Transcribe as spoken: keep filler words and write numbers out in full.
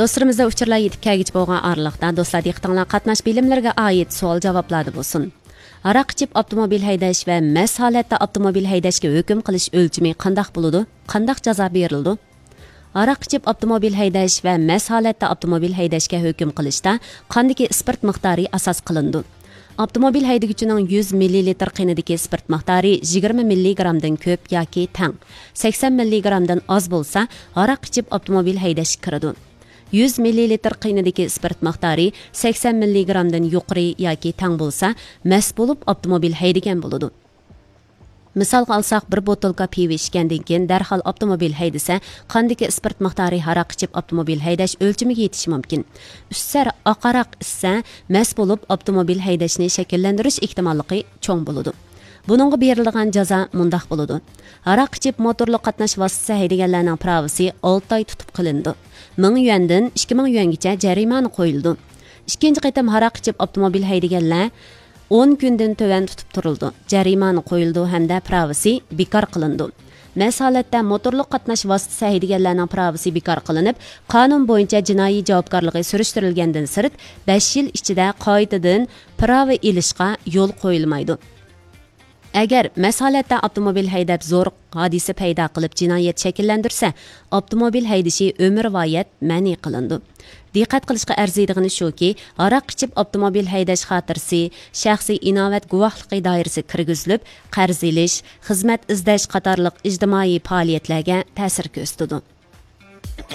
دوستلىرىمىزدا ئۇچۇرلار يېتىپ كەلگۈچە بولغان ئارىلىقتا، دوستلار، دىققىتىڭلار قاتناش بىلىملىرىگە ئائىت سوئال-جاۋابلاردا بولسۇن. ھاراق ئىچىپ ئاپتوموبىل ھەيدەش ۋە مەست ھالەتتە ئاپتوموبىل ھەيدەشكە ھۆكۈم قىلىش ئۆلچىمى قانداق بولىدۇ؟ قانداق جازا بېرىلىدۇ؟ ھاراق ئىچىپ ئاپتوموبىل ھەيدەش ۋە مەست ھالەتتە ئاپتوموبىل ھەيدەشكە ھۆكۈم قىلىشتا قاندىكى ئىسپىرت مىقدارى ئاساس قىلىنىدۇ؟ ئاپتوموبىل ھەيدىگۈچىنىڭ يۈز مىللىلىتىر قېنىدىكى ئىسپىرت مىقدارى يىگىرمە مىللىگرامدىن كۆپ ياكى تەڭ، سەكسەن مىللىگرامدىن ئاز بولسا، ھاراق ئىچىپ ئاپتوموبىل ھەيدەشكە كىرىدۇ. يۈز مىللىلىتىر قېنىدىكى ئىسپىرت مىقدارى سەكسەن مىللىگرامدىن يۇقىرى ياكى تەڭ بولسا، مەست بولۇپ ئاپتوموبىل ھەيدىگەن بولىدۇ. مىسالغا ئالساق، بىر بوتۇلكا پىۋا ئىچكەندىن كېيىن دەرھال ئاپتوموبىل ھەيدىسە، قاندىكى ئىسپىرت مىقدارى ھاراق ئىچىپ ئاپتوموبىل ھەيدەش ئۆلچىمىگە يېتىشى مۇمكىن. ئۈچ سەر ئاق ھاراق ئىچسە، مەست بولۇپ ئاپتوموبىل ھەيدەشنى شەكىللەندۈرۈش ئېھتىماللىقى چوڭ بولىدۇ. بۇنىڭغا بېرىلىدىغان جازا مۇنداق بولىدۇ. ھاراق ئىچىپ موتورلۇق قاتناش ۋاسىتىسى ھەيدىگەنلەرنىڭ پىراۋىسى ئالتە ئاي تۇتۇپ قېلىنىدۇ. مىڭ يۈەندىن ئىككى مىڭ يۈەنگىچە جەرىمانە قويۇلىدۇ. ئىككىنچى قېتىم ھاراق ئىچىپ ئاپتوموبىل ھەيدىگەنلەر ئون كۈندىن تۆۋەن تۇتۇپ تۇرۇلىدۇ، جەرىمانە قويۇلىدۇ ھەمدە پىراۋىسى بىكار قىلىنىدۇ. مەست ھالەتتە موتورلۇق قاتناش ۋاسىتىسى ھەيدىگەنلەرنىڭ پىراۋىسى بىكار قىلىنىپ، قانۇن بويىچە جىنايى جاۋابكارلىقى سۈرۈشتۈرۈلگەندىن سىرت، بەش يىل ئىچىدە قايتىدىن پىراۋا ئېلىشقا يول قويۇلمايدۇ. ئەگەر مەست ھالەتتە ئاپتوموبىل ھەيدەپ زور ھادىسە پەيدا قىلىپ جىنايەت شەكىللەندۈرسە، ئاپتوموبىل ھەيدىشى ئۆمۈرۋايەت مەنئى قىلىنىدۇ. دىققەت قىلىشقا ئەرزىيدىغىنى شۇكى، ھاراق ئىچىپ ئاپتوموبىل ھەيدەش خاتىرىسى شەخسىي ئىناۋەت گۇۋاھلىقى دائىرىسىگە كىرگۈزۈلۈپ، قەرز ئېلىش، خىزمەت ئىزدەش قاتارلىق ئىجتىمائىي پائالىيەتلەرگە تەسىر كۆرسىتىدۇ.